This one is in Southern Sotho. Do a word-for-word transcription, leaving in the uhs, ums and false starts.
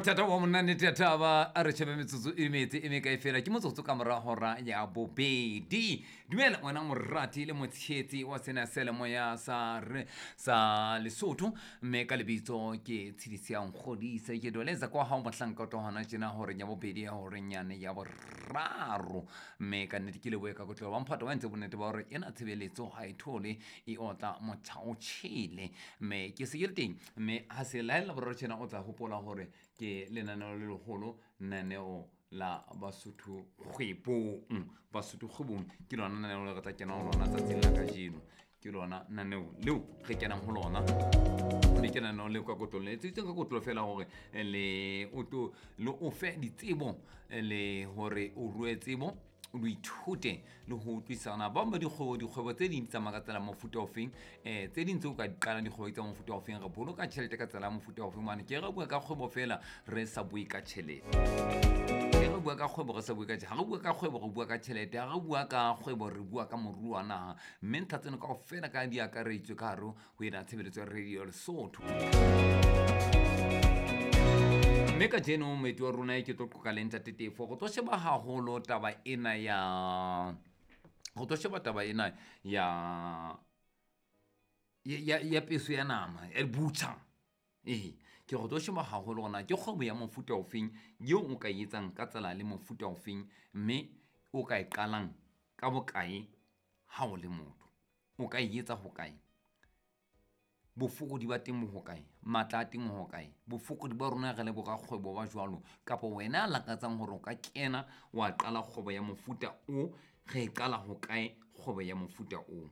Bothata wa monna nnete ya thaba a re shebe metsotso e metse e mekae fela ke motsotso ka mora hora ya bobedi. Dumela wena morati le motshehetsi wa sena seyalemoya sa re sa Lesotho, mme ka lebitso ke Tshedisi ya Nkgodise. Ke doleza kwa hao mohlanka o tlo hona tjena horeng ya bobedi ya horeng yane ya boraro, mme ka nnete ke lebohe ka kotlolo ba mphato wa entse bonnete ba hore ena tshebeletso ha e thole e otla motjha o tjhele, mme ke se ke le teng. Mme ha se laella boraro tjena o tla hopola hore ke lenaneo le leholo, lenaneo la Basotho kgwebong. Basotho kgwebong ke lona lenaneo le re tla kena ho lona tsatsing la kajeno, ke lona lenaneo leo re kenang ho lona, mme ke lenaneo leo ka kotlolo le etseditsweng ka kotlolo fela hore le o tlo le o fe ditsebo le hore o rue tsebo, o ithute le ho utlwisana. Ba bang ba dikgwebo, dikgwebo tse ding di tsamaya ka tsela ya mofuta ofeng, um tse ding tseo ka di qalang dikgwebo tsa mofuta ofeng, re boloka tjhelete ka tsela ya mofuta ofeng. Hobane ke re bua ka kgwebo fela re sa bue ka tjhelete, ke re bua ka kgwebo re sa bue ka tjhelete, ha re bua ka kgwebo re bua ka tjhelete, ha re bua ka kgwebo re bua ka moruo wa naha. Mme ntlha tseno kaofela ka di akaretswe ka hare ho ena tshebeletso ya Radio Lesotho. Mme kajeno moeti wa rona ke tlo qoqa le Ntate Tefo, go tlo sheba haholo taba ena ya go tlo sheba taba ena ya ya ya peso ya nama ya butcher. Ee, ke go tlo sheba haholo hore na ke kgwebo ya mofuta ofeng eo o ka e etsang ka tsela le mofuta ofeng, mme o ka e qalang ka bokae ha o le motho, o ka e etsa hokae, bofokodi ba teng bo hokae, matla a teng ho hokae, bofokodi ba rona re le borakgwebo ba jwalo, kapa wena a lakatsang hore o ka kena wa qala kgwebo ya mofuta o, re e qala hokae kgwebo ya mofuta o.